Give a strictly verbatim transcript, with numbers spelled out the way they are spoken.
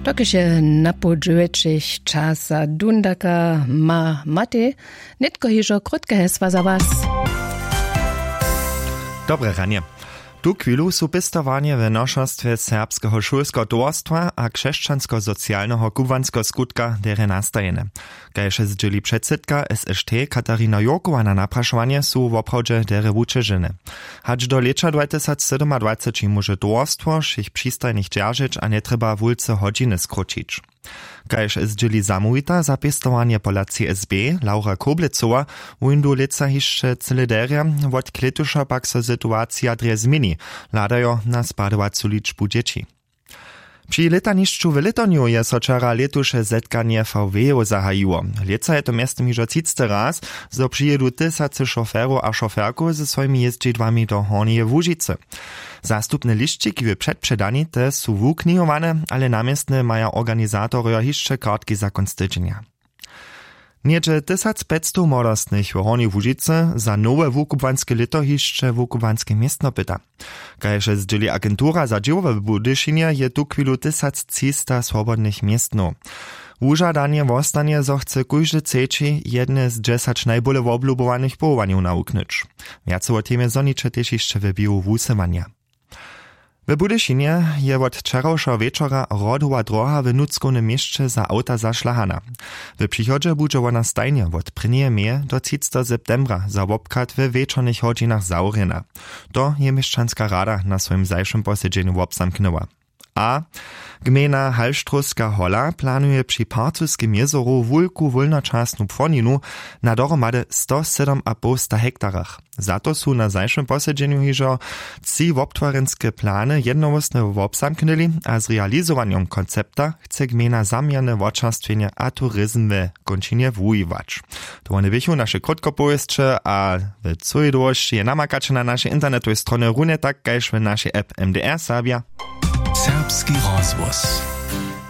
Dokelž je na poł dźewjećich čas za dundaka ma matej, nětko hižo krótke hesła za was. Dobre ranje. Tuchwilu su pěstowarnje w nošerstwje serbskeho šulskeho towarstwa a křesćansko-socialneho kubłanskeho skutka derje nastajene. Kaž zdźěli předsydka sšt katarina jurkowa na naprašowanje su woprawdźe derje wućežene. Hač do lěća dwatysacsydomadwaceći móže towarstwo wšěch přistajnych dźeržeć a njetrjeba wulce hodźiny skróćić. Kaž zdźěli zamołwita za pěstowarnje pola csb, laura koblecowa, wóńdu lětsa hišće cyle derje. Wot klětuša pak so situacija drje změni, hladajo na spadowacu ličbu dźěći. Při lětanišću w lětornju je so wčera lětuše zetkanje vw-ow zahajiło. Lětsa je to mjeztym hižo třicty raz, zo přijědu tysacy šoferow a šoferkow ze swojimi jězdźidłami do hornjeje łužicy. Zastupne lisćiki w předpředani te su wuknihowane, ale namjestne maja organizatorjo hišće kartki za kónc tydźenja. Něhdźe tysacpjećstow młodostnych w hornjej łužicy za nowe wukubłanske lětohišće wukubłanske městno pyta. Kaž zdźěli agentura za dźěło w budyšinje, je tuchwilu tysactřista swobodnych městnow. Wužadanje wostanje, zo chce kóždy třeći jedne z dźesać najbóle woblubowanych powołanjow nawuknyć. Wjace wo temje zhoniće tež hišće w běhu wusyłanja. W budyšinje je wot wčerawšeho wječora rodowa dróha w nutřkownym měsće za awta zašlahana. W přichodźe budźe wona stajnje wot prěnjeje meje do třicteho septembra za wobchad we wječornych hodźinach zawrjena. To je měšćanska rada na swojim zašłym posedźenju wobzamknyła. A gmejna halštrowska hola planuje při parcyskim jězoru wulku wólnočasnu płoninu na dohromady sto sydomapołsta hektarach. Za to su na zašłym posedźenju hižo tři wobtwarjenske plany jednohłósnje wobzamknyli a z realizowanjom koncepta chce gmejna zaměrne wočerstwjenje a turizm we kónčinje wuwiwać. To wone běchu naše krótkopowěsće a w cyłej dłowosći je namakaće na našej internetowej stronje runje tak kaž w našej app mdr serbja. Serbski rozhłos.